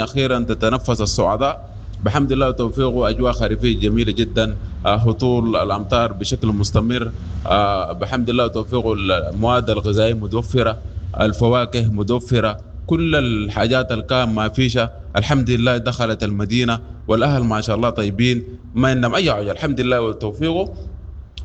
أخيرا تتنفس الصعداء بحمد الله وتوفيقه. أجواء خريفية جميلة جدا، هطول الأمطار بشكل مستمر، بحمد الله وتوفيقه. المواد الغذائية متوفرة، الفواكه متوفرة، كل الحاجات اللي كان ما فيشة الحمد لله دخلت المدينة، والأهل ما شاء الله طيبين، ما عندهم أي حاجة الحمد لله وتوفيقه.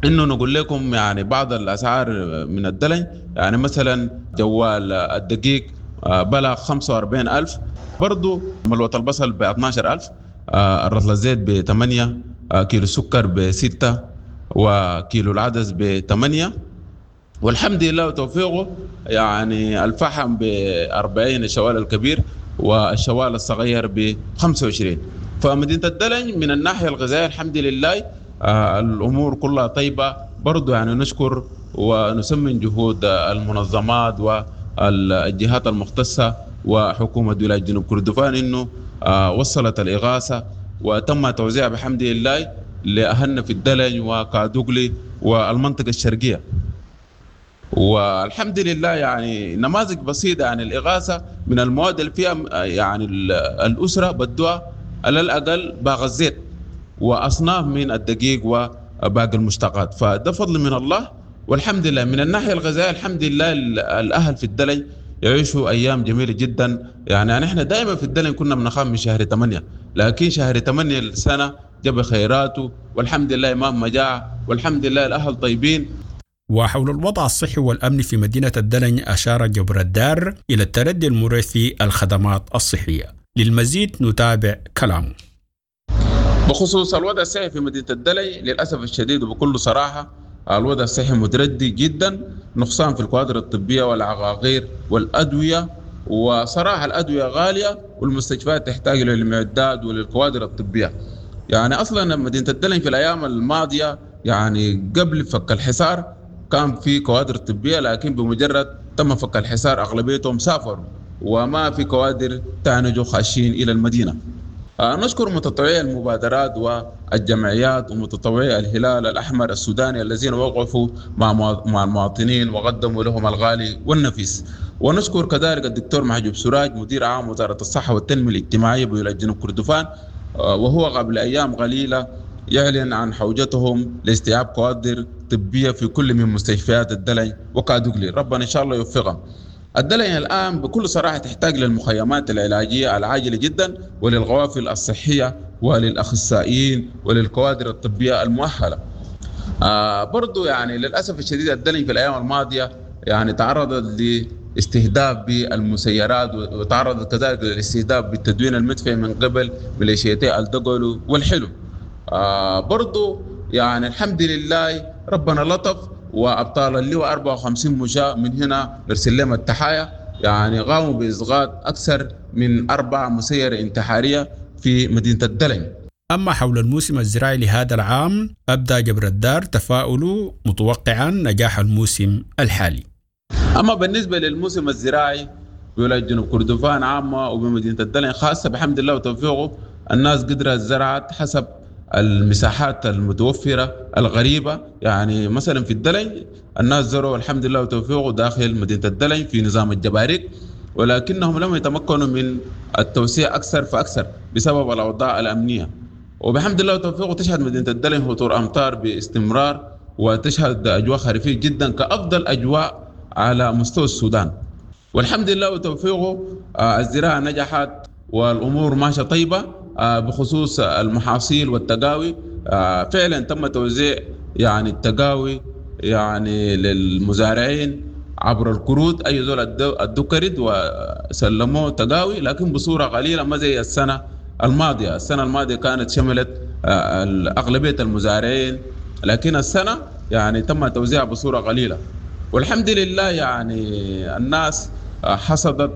إنه نقول لكم يعني بعض الأسعار من الدلنج، يعني مثلا جوال الدقيق بلغ 45,000، برضو ملوة البصل ب 12,000، الرطل الزيت ب 8، كيلو السكر ب 6، وكيلو العدس ب 8، والحمد لله وتوفيقه. يعني الفحم ب 40 الشوال الكبير، والشوال الصغير ب 25. فمدينة الدلنج من الناحية الغذائية الحمد لله الأمور كلها طيبة. برضو يعني نشكر ونسمن جهود المنظمات والجهات المختصة وحكومة ولاية جنوب كردفان إنه وصلت الإغاثة وتم توزيعها بحمد لله لأهلنا في الدلنج وكادوغلي والمنطقة الشرقية، والحمد لله. يعني نماذج بسيطة عن الإغاثة من المواد اللي فيها، يعني الأسرة بدوها على الأقل باغ الزيت وأصناف من الدقيق وباقي المشتقات، فده فضل من الله والحمد لله. من الناحية الغذائية الحمد لله الأهل في الدلنج يعيشوا أيام جميلة جدا. يعني نحن دائما في الدلنج كنا بنخاف من شهر 8، لكن شهر 8 السنة جاب خيراته والحمد لله، ما مجاعة والحمد لله الأهل طيبين. وحول الوضع الصحي والأمن في مدينة الدلنج أشار جبر الدار إلى التردي المريح في الخدمات الصحية. للمزيد نتابع كلامه. بخصوص الوضع الصحي في مدينة الدلنج، للأسف الشديد وبكل صراحة الوضع الصحي متردي جدا، نقصان في الكوادر الطبية والعقاقير والأدوية، وصراحة الأدوية غالية والمستشفيات تحتاج للمعدات وللكوادر الطبية. يعني أصلا مدينة الدلنج في الأيام الماضية، يعني قبل فك الحصار كان في كوادر طبية، لكن بمجرد تم فك الحصار أغلبيتهم سافروا وما في كوادر تانجوا خاشين إلى المدينة. نشكر متطوعي المبادرات والجمعيات ومتطوعي الهلال الأحمر السوداني الذين وقفوا مع المواطنين وقدموا لهم الغالي والنفيس. ونشكر كذلك الدكتور محجوب سراج مدير عام وزارة الصحة والتنمية الاجتماعية بولاية جنوب كردفان، وهو قبل أيام قليلة يعلن عن حوجتهم لاستيعاب كوادر طبية في كل من مستشفيات الدلنج وكادوغلي. ربنا إن شاء الله يوفقهم. الدلنج الآن بكل صراحة تحتاج للمخيمات العلاجية العاجلة جدا، وللغوافل الصحية وللأخصائيين وللكوادر الطبية المؤهلة. برضو يعني للأسف الشديد الدلنج في الأيام الماضية يعني تعرضت لاستهداف بالمسيرات، وتعرضت كذلك للاستهداف بالتدوين المدفعي من قبل ميليشيتي الدقلو والحلو. برضو يعني الحمد لله ربنا لطف، وأبطال اللواء 54 مشاة من هنا نرسل لهم التحايا، يعني قاموا بإسقاط أكثر من 4 مسيرة انتحارية في مدينة الدلنج. أما حول الموسم الزراعي لهذا العام أبدى جبر الدار تفاؤله متوقعا نجاح الموسم الحالي. أما بالنسبة للموسم الزراعي بولاية جنوب كردفان عامة وبمدينة الدلنج خاصة، بحمد الله وتوفيقه الناس قدرت زرعت حسب المساحات المتوفرة الغريبة. يعني مثلا في الدلنج الناس زرعوا الحمد لله وتوفيقه داخل مدينة الدلنج في نظام الجباريك، ولكنهم لم يتمكنوا من التوسيع أكثر فأكثر بسبب الأوضاع الأمنية. وبحمد الله وتوفيقه تشهد مدينة الدلنج هطول أمطار باستمرار، وتشهد أجواء خريفية جدا كأفضل أجواء على مستوى السودان. والحمد لله وتوفيقه الزراعة نجحت والأمور ماشية طيبة. بخصوص المحاصيل والتقاوي، فعلا تم توزيع يعني التقاوي يعني للمزارعين عبر الكروت، أي زول ادوا كرد وسلموه تقاوي، لكن بصورة قليلة ما زي السنة الماضية. السنة الماضية كانت شملت أغلبية المزارعين، لكن السنة يعني تم توزيعها بصورة قليلة. والحمد لله يعني الناس حصدت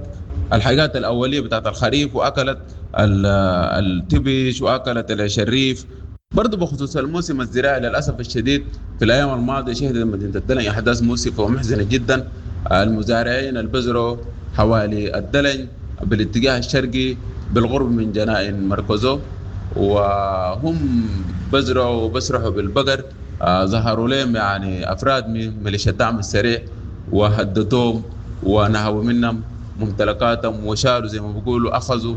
الحاجات الأولية بتاعت الخريف، وأكلت التبش وأكلت العشريف. برضو بخصوص الموسم الزراعي للأسف الشديد في الأيام الماضية شهدت مدينة الدلنج أحداث مؤسفة ومحزنة جدا. المزارعين البزروا حوالي الدلنج بالاتجاه الشرقي بالقرب من جنائن مركزو، وهم بزرعوا وبسرحوا بالبقر، ظهروا لهم يعني أفراد من ميليشيا الدعم السريع وهددوهم ونهبوا منهم ممتلكاتهم وشالوا زي ما بيقولوا أخذوا